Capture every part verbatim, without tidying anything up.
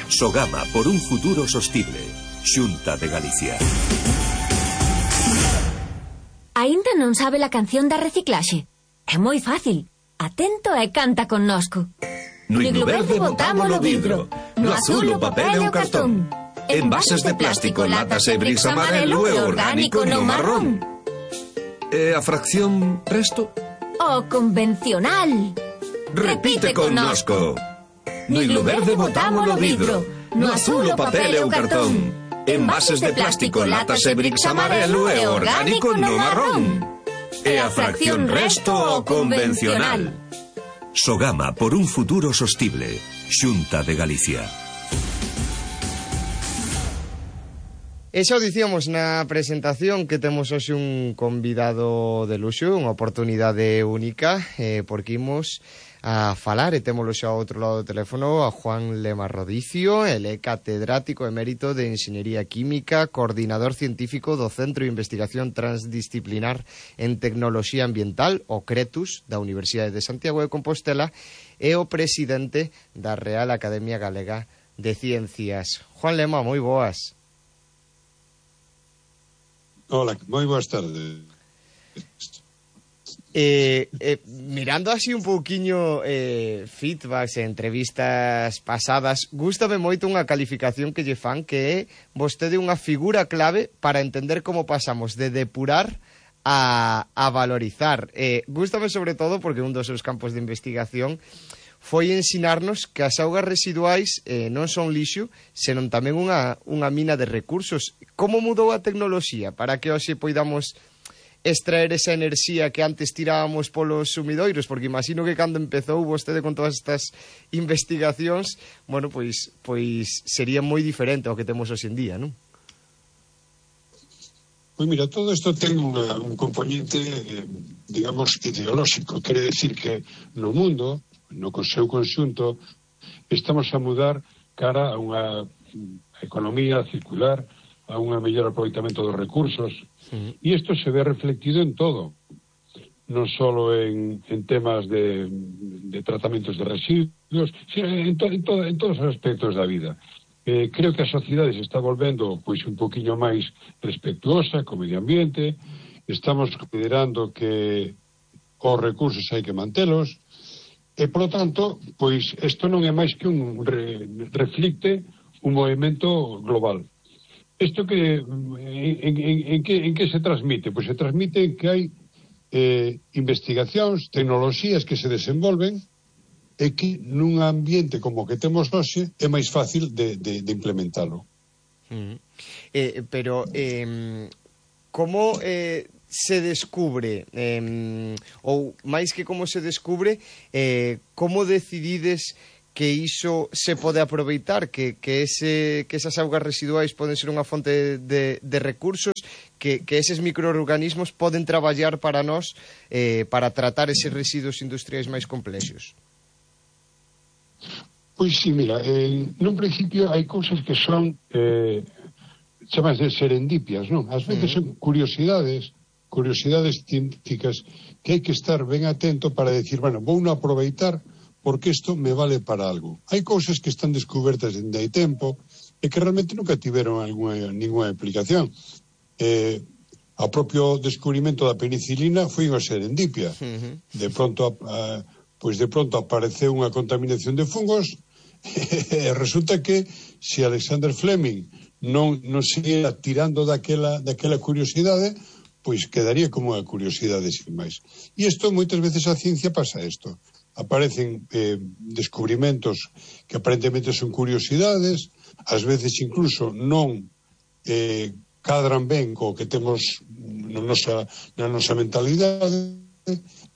Sogama por un futuro sostible. Xunta de Galicia. Aínda non sabe a canción da reciclaxe? É moi fácil. Atento e canta connosco. No iglo verde botamos o vidro, no azul o papel e o cartón. Envases de plástico, latas e bricks amarelo e orgánico no marrón. E a fracción resto? O convencional. Repite connosco. No iglo verde botamos o vidro, no azul o papel e o cartón. Envases de plástico, latas e bricks amarelo e orgánico no marrón. E a fracción resto o convencional. Sogama por un futuro sostible. Xunta de Galicia. E xa o dicíamos na presentación que temos hoxe un convidado de luxo, unha oportunidade única, eh, porque imos a falar, e témolo xa ao outro lado do teléfono, a Juan Lema Rodicio. Ele é catedrático emérito de Enxeñería Química, coordinador científico do Centro de Investigación Transdisciplinar en Tecnoloxía Ambiental, o CRETUS, da Universidade de Santiago de Compostela, e o presidente da Real Academia Galega de Ciencias. Juan Lema, moi boas. Hola, moi boas tardes. Eh, eh, mirando así un pouquiño eh, feedbacks e entrevistas pasadas, gústame moito unha calificación que lle fan, que é vostede unha figura clave para entender como pasamos de depurar a, a valorizar. Eh, gústame sobre todo porque un dos seus campos de investigación foi ensinarnos que as augas residuais eh, non son lixo, senón tamén unha, unha mina de recursos. Como mudou a tecnoloxía para que hoxe poidamos extraer esa enerxía que antes tirábamos polos sumidoiros? Porque imagino que cando empezou vostede con todas estas investigacións, bueno, pois pois sería moi diferente ao que temos hoxe en día, non? Pois mira, todo isto ten unha, un componente, eh, digamos, ideolóxico. Quere decir que no mundo, no seu conxunto, estamos a mudar cara a unha economía circular, a un mellor aproveitamento dos recursos, uh-huh. E isto se ve reflectido en todo, non só en, en temas de, de tratamentos de residuos, sino en, to, en, to, en todos os aspectos da vida. Eh, creo que a sociedade se está volvendo pois un poquinho máis respetuosa co medio ambiente, estamos considerando que os recursos hai que mantelos, e, por lo tanto, pois isto non é máis que un re, reflicte un movimento global. Isto que en, en, en, que, en que se transmite? Pois se transmite en que hai eh, investigacións, tecnoloxías que se desenvolven e que nun ambiente como que temos hoxe é máis fácil de, de, de implementalo. Mm. Eh, pero eh, como eh, se descubre eh, ou máis que como se descubre, eh, como decidides que iso se pode aproveitar, que, que, ese, que esas augas residuais poden ser unha fonte de, de recursos, que, que eses microorganismos poden traballar para nós eh, para tratar eses residuos industriais máis complexos? Pois sí, mira, eh, nun principio hai cousas que son eh, chamas de serendipias, non? Ás veces son curiosidades, curiosidades científicas que hai que estar ben atento para decir, bueno, vou non aproveitar porque isto me vale para algo. Hai cousas que están descubertas dende hai tempo e que realmente nunca tiveron alguna, ninguna aplicación. Eh, o propio descubrimento da penicilina foi unha serendipia. Uh-huh. De pronto, a, pois de pronto apareceu unha contaminación de fungos e resulta que se Alexander Fleming non, non seguía tirando daquela, daquela curiosidade, pois quedaría como unha curiosidade sin máis. E isto, moitas veces a ciencia pasa isto. Aparecen eh, descubrimentos que aparentemente son curiosidades, ás veces incluso non eh, cadran ben co que temos na nosa, na nosa mentalidade,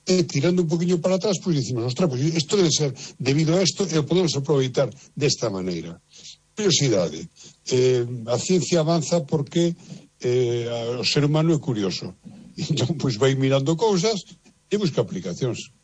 e tirando un poquinho para atrás, pois dicimos, ostras, pois isto debe ser debido a isto e o podemos aproveitar desta maneira. Curiosidade. Eh, a ciencia avanza porque eh, o ser humano é curioso. Entón, pois vai mirando cousas e busca aplicacións.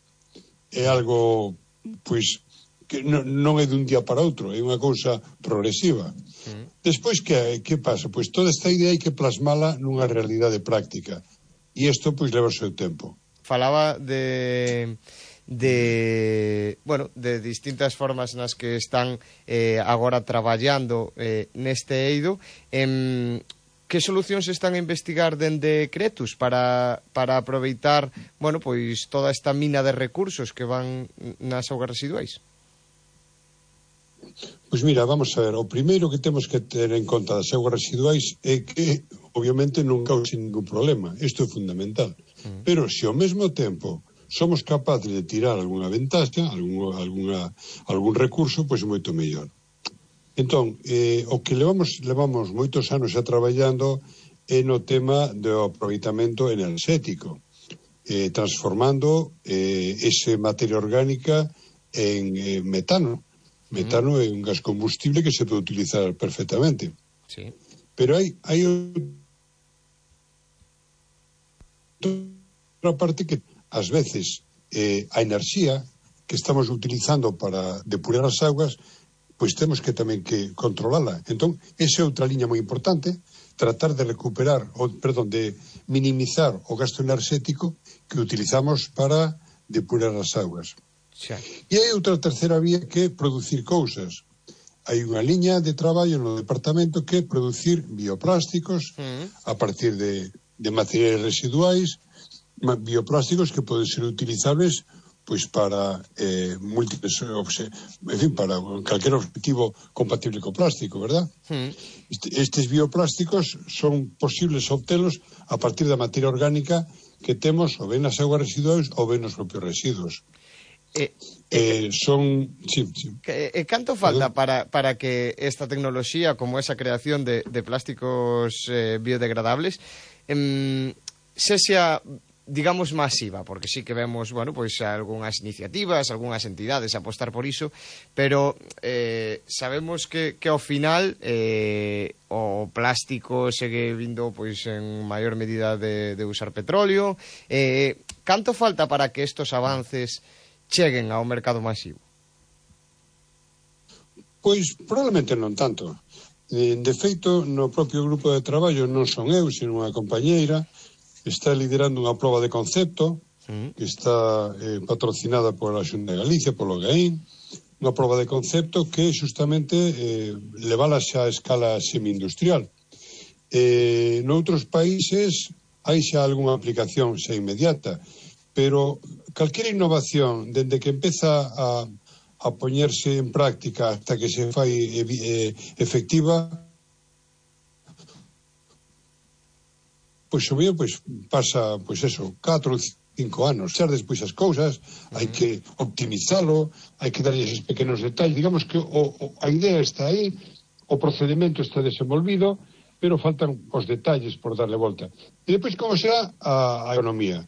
É algo, pois, que non, non é dun día para outro, é unha cousa progresiva. Mm. Despois, que, que pasa? Pois toda esta idea hai que plasmala nunha realidade práctica. E isto, pois, leva o seu tempo. Falaba de, de, bueno, de distintas formas nas que están eh, agora traballando eh, neste eido. Eh, que solucións están a investigar dende Cretus para, para aproveitar, bueno, pois toda esta mina de recursos que van nas augas residuais? Pois mira, vamos a ver, o primeiro que temos que ter en conta das augas residuais é que, obviamente, non cause ningún problema. Isto é fundamental. Mm. Pero, se ao mesmo tempo somos capaces de tirar algunha ventaxa, algún, alguna, algún recurso, pois moito mellor. Entón, eh, o que levamos, levamos moitos anos a traballando é no tema do aproveitamento enerxético, eh, transformando eh, ese materia orgánica en eh, metano. Metano é un gas combustible que se pode utilizar perfectamente. Sí. Pero hai, hai outra parte que, ás veces, eh, a enerxía que estamos utilizando para depurar as augas, pois temos que tamén que controlala. Entón, esa é outra liña moi importante, tratar de recuperar, ou, perdón, de minimizar o gasto enerxético que utilizamos para depurar as augas. Xa. E hai outra terceira vía que é producir cousas. Hai unha liña de traballo no departamento que é producir bioplásticos mm. a partir de, de materiais residuais, bioplásticos que poden ser utilizables pois para eh, múltiples, en fin, para calquer objetivo compatible co plástico, verdad? Mm. Este, estes bioplásticos son posibles obtelos a partir da materia orgánica que temos ou ben nas augas residuais ou ben nos propios residuos. Eh, eh, son sí, sí. Eh, canto falta para, para que esta tecnoloxía, como esa creación de, de plásticos eh, biodegradables, eh, sexa, digamos, masiva? Porque sí que vemos, bueno, pois algunhas iniciativas, algunhas entidades apostar por iso, pero eh, sabemos que, que ao final eh, o plástico segue vindo pois en maior medida de, de usar petróleo. Eh, canto falta para que estos avances cheguen ao mercado masivo? Pois probablemente non tanto. De feito, no propio grupo de traballo non son eu, sino unha compañeira, está liderando unha proba de concepto que está eh, patrocinada pola Xunta de Galicia, polo GAIN, unha proba de concepto que justamente eh, levala xa a escala semi-industrial. Eh, noutros países hai xa algunha aplicación xa inmediata, pero calquera innovación, dende que empeza a, a poñerse en práctica hasta que se fai eh, efectiva, pois o mío pois, pasa, pois eso, catro ou cinco anos. Xa despois as cousas, hai que optimizalo, hai que darlle esos pequenos detalles. Digamos que o, o, a idea está aí, o procedimento está desenvolvido, pero faltan os detalles por darle volta. E depois como será a, a economía?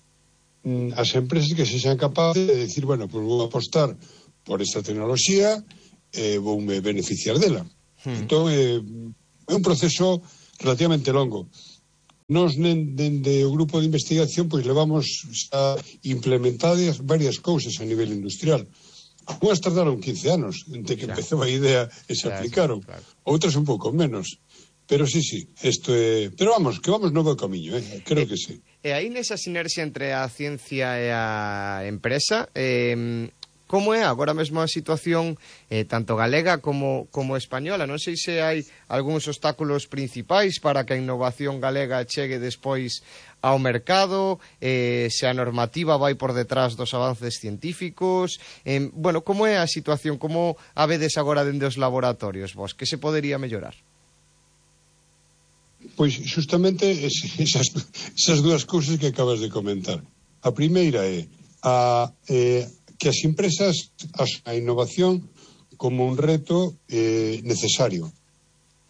As empresas que se sean capaces de decir, bueno, pues vou apostar por esta tecnoloxía, eh, voume beneficiar dela. Hmm. Entón, eh, é un proceso relativamente longo. Nos, dende o grupo de investigación, pois levamos a implementadas varias cousas a nivel industrial. Algunas tardaron quince anos, entre que claro. empezou a idea e se claro, aplicaron. Claro. Outras un pouco menos. Pero sí, sí, isto é... Pero vamos, que vamos no bo camiño, eh? Creo que sí. E aí nesa sinerxia entre a ciencia e a empresa, eh, como é agora mesmo a situación eh, tanto galega como, como española? Non sei se hai algúns obstáculos principais para que a innovación galega chegue despois ao mercado, eh, se a normativa vai por detrás dos avances científicos. Eh, bueno, como é a situación? Como a vedes agora dende os laboratorios vos? Que se podería mellorar? Pois justamente esas, esas dúas cousas que acabas de comentar. A primeira é a, eh, que as empresas as, a innovación como un reto eh, necesario,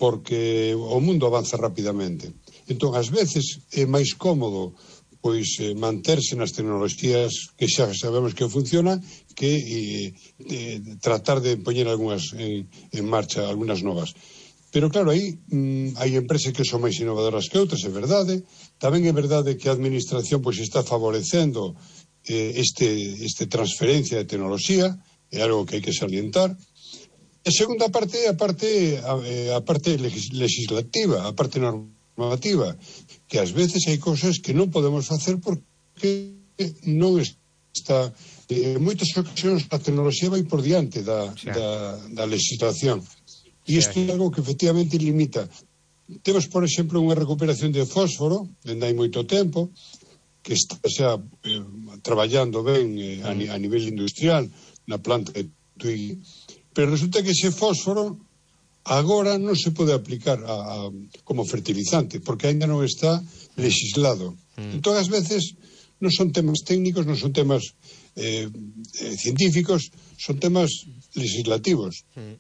porque o mundo avanza rapidamente. Entón, ás veces é máis cómodo pois eh, manterse nas tecnoloxías que xa sabemos que funcionan que eh, eh, tratar de poñer algunhas en, en marcha, algunhas novas. Pero claro, aí mm, hai empresas que son máis innovadoras que outras, é verdade. Tamén é verdade que a administración pois está favorecendo eh, este, este transferencia de tecnoloxía, é algo que hai que salientar. A segunda parte é a parte, a, a parte legislativa, a parte normativa, que ás veces hai cousas que non podemos facer porque non está en moitas ocasións a tecnoloxía vai por diante da, sí. da, da legislación. E isto sí. é algo que efectivamente limita. Temos, por exemplo, unha recuperación de fósforo, dende hai moito tempo, que está xa eh, traballando ben eh, a, a nivel industrial na planta de Tui, pero resulta que ese fósforo agora non se pode aplicar a, a, como fertilizante, porque ainda non está legislado. Mm. Entón, ás veces, non son temas técnicos, non son temas eh, eh, científicos, son temas legislativos. Mm.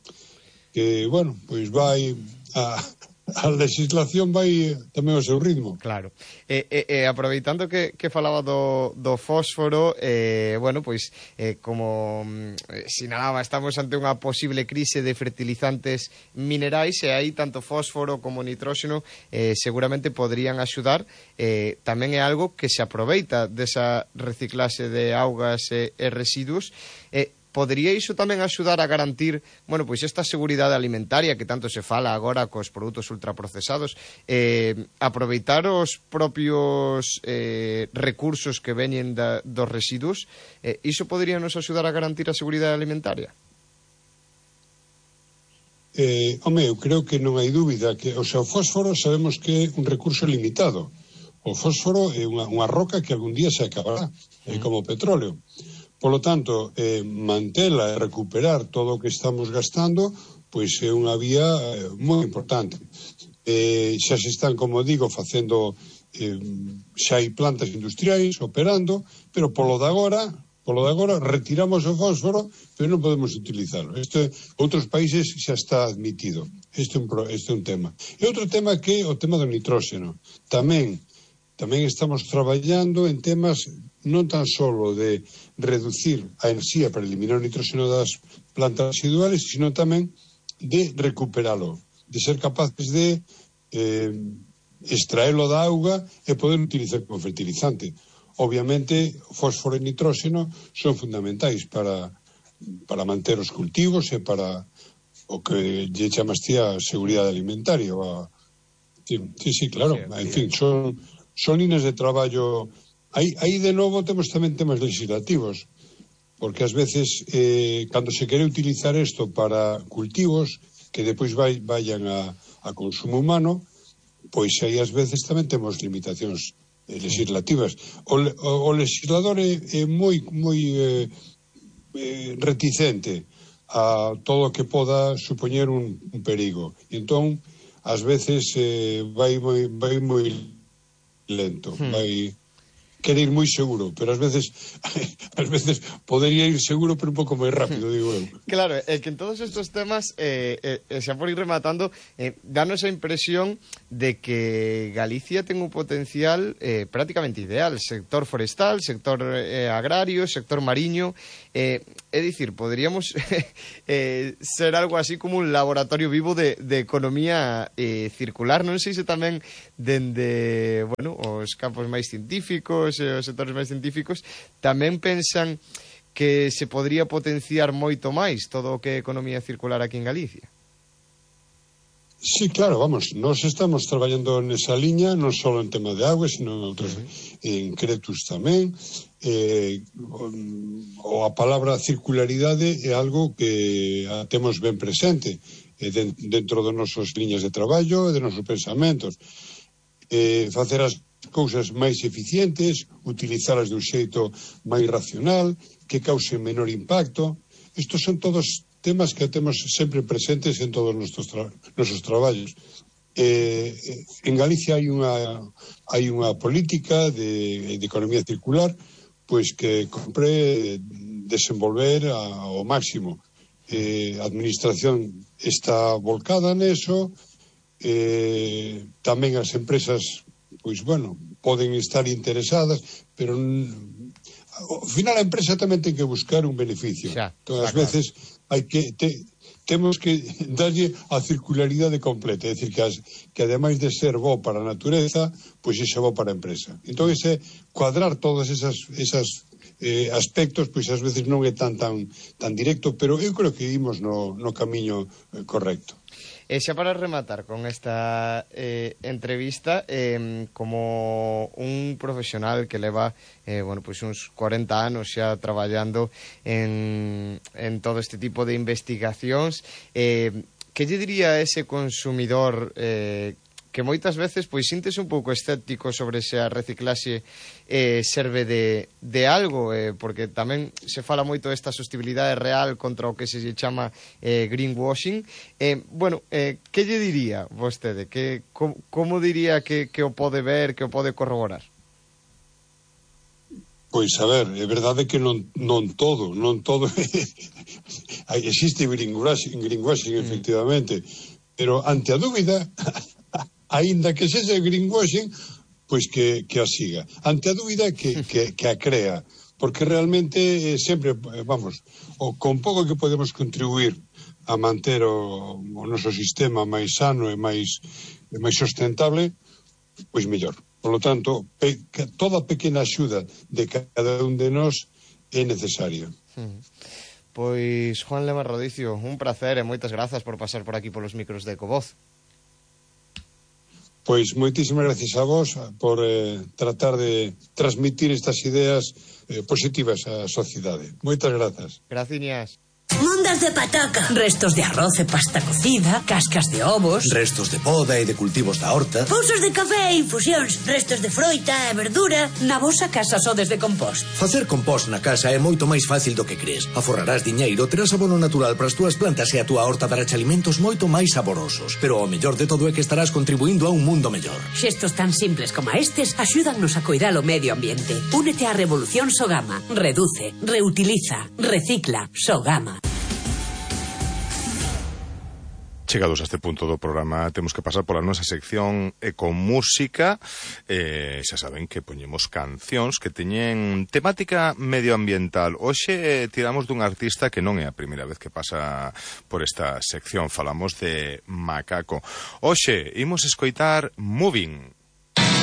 Que, bueno, pois vai a... a legislación vai tamén ao seu ritmo. Claro. E, e, e aproveitando que, que falaba do, do fósforo, eh, bueno, pois, eh, como eh, sinalaba, estamos ante unha posible crise de fertilizantes minerais e aí tanto fósforo como nitróxeno eh, seguramente podrían axudar. Eh, tamén é algo que se aproveita desa reciclaxe de augas e, e residuos. Eh, Podería iso tamén axudar a garantir, bueno, pois esta seguridade alimentaria que tanto se fala agora cos produtos ultraprocesados, eh, aproveitar os propios eh, recursos que veñen da, dos residuos, eh, iso podería nos axudar a garantir a seguridade alimentaria? Eh, home, eu creo que non hai dúbida que, o sea, o fósforo sabemos que é un recurso limitado. O fósforo é unha, unha roca que algún día se acabará, é mm. como o petróleo. Por lo tanto, eh, mantela e recuperar todo o que estamos gastando, pois é unha vía eh, moi importante. Eh, xa se están, como digo, facendo, eh, xa hai plantas industriais operando, pero polo de agora, polo de agora retiramos o fósforo, pero non podemos utilizarlo. Este, outros países xa está admitido. Este é un, este é un tema. E outro tema que é o tema do nitróxeno. Tamén, tamén estamos traballando en temas non tan solo de reducir a enerxía para eliminar o nitróxeno das plantas residuales, sino tamén de recuperalo, de ser capaces de eh, extraelo da auga e poder utilizar como fertilizante. Obviamente, fósforo e nitróxeno son fundamentais para, para manter os cultivos e para o que lle chamas ti a seguridade alimentaria. A... Sí, sí, sí, claro. En fin, son, son líneas de traballo. Aí, aí de novo temos tamén temas legislativos, porque ás veces eh, cando se quere utilizar isto para cultivos que depois vai, vayan a, a consumo humano, pois aí ás veces tamén temos limitacións eh, legislativas. O, o, o legislador é, é moi, moi eh, eh, reticente a todo o que poda supoñer un, un perigo. E entón, ás veces eh, vai moi, vai moi lento, hmm. vai... quere ir moi seguro, pero ás veces ás veces podería ir seguro pero un pouco máis rápido, digo eu. Claro, é que en todos estos temas eh, eh, xa por ir rematando, eh, danos a impresión de que Galicia ten un potencial eh, prácticamente ideal, sector forestal, sector eh, agrario, sector mariño, eh, é dicir, poderíamos eh, ser algo así como un laboratorio vivo de, de economía eh, circular, non sei se tamén dende, bueno, os campos máis científicos e os sectores máis científicos tamén pensan que se podría potenciar moito máis todo o que é economía circular aquí en Galicia. Sí, claro, vamos, nós estamos traballando nesa liña, non só en tema de auga, sino en outros, uh -huh. en Cretus tamén. Eh, o a palabra circularidade é algo que a temos ben presente eh, de, dentro das nosas liñas de traballo e de nosos pensamentos. Eh, facer as cousas máis eficientes, utilizalas dun xeito máis racional, que causen menor impacto. Estos son todos temas que temos sempre presentes en todos os nosos, tra nosos traballos. Eh, en Galicia hai unha, hai unha política de, de economía circular pois que compre desenvolver a, ao máximo. Eh, a administración está volcada neso, eh, tamén as empresas pois, bueno, poden estar interesadas, pero ao final a empresa tamén ten que buscar un beneficio. Xa, entón, ás veces hai que te, temos que darlle a circularidade completa, é dicir, que, as, que ademais de ser bo para a natureza, pois é bo para a empresa. Entón, ese, cuadrar todas esas, esas eh, aspectos, pois ás veces non é tan tan tan directo, pero eu creo que imos no, no camiño eh, correcto. E xa para rematar con esta eh, entrevista, eh, como un profesional que leva eh, bueno, pues uns cuarenta anos xa traballando en, en todo este tipo de investigacións, eh, que lle diría a ese consumidor eh, que moitas veces pois sintes un pouco escéptico sobre se a reciclaxe eh, serve de, de algo, eh, porque tamén se fala moito desta sostenibilidade real contra o que se lle chama eh, greenwashing. Eh, bueno, eh, que lle diría vostede? Que, com, como diría que, que o pode ver, que o pode corroborar? Pois, a ver, é verdade que non, non todo, non todo existe greenwashing, greenwashing mm. efectivamente, pero ante a dúbida aínda que sexa greenwashing, pois que, que a siga. Ante a dúbida que, que, que a crea, porque realmente eh, sempre, vamos, o con pouco que podemos contribuir a manter o, o noso sistema máis sano e máis, e máis sustentable, pois mellor. Por lo tanto, pe, toda pequena axuda de cada un de nós é necesaria. Hmm. Pois, Juan Lema Rodicio, un placer e moitas grazas por pasar por aquí polos micros de Ecovoz. Pois moitísimas gracias a vos por eh, tratar de transmitir estas ideas eh, positivas á sociedade. Moitas grazas. Graciñas. Mundas de pataca, restos de arroz e pasta cocida, cascas de ovos, restos de poda e de cultivos da horta, pousos de café e infusións, restos de froita e verdura. Na vosa casa sodes de compost. Facer compost na casa é moito máis fácil do que crees. Aforrarás diñeiro, terás abono natural para as túas plantas e a túa horta dará alimentos moito máis saborosos. Pero o mellor de todo é que estarás contribuindo a un mundo mellor. Xestos tan simples como estes axúdannos a coidar o medio ambiente. Únete á revolución Sogama. Reduce, reutiliza, recicla. Sogama. Chegados a este punto do programa, temos que pasar pola nosa sección Ecomúsica. Eh, xa saben que poñemos cancións que teñen temática medioambiental. Hoxe tiramos dun artista que non é a primeira vez que pasa por esta sección. Falamos de Macaco. Hoxe imos escoitar Moving.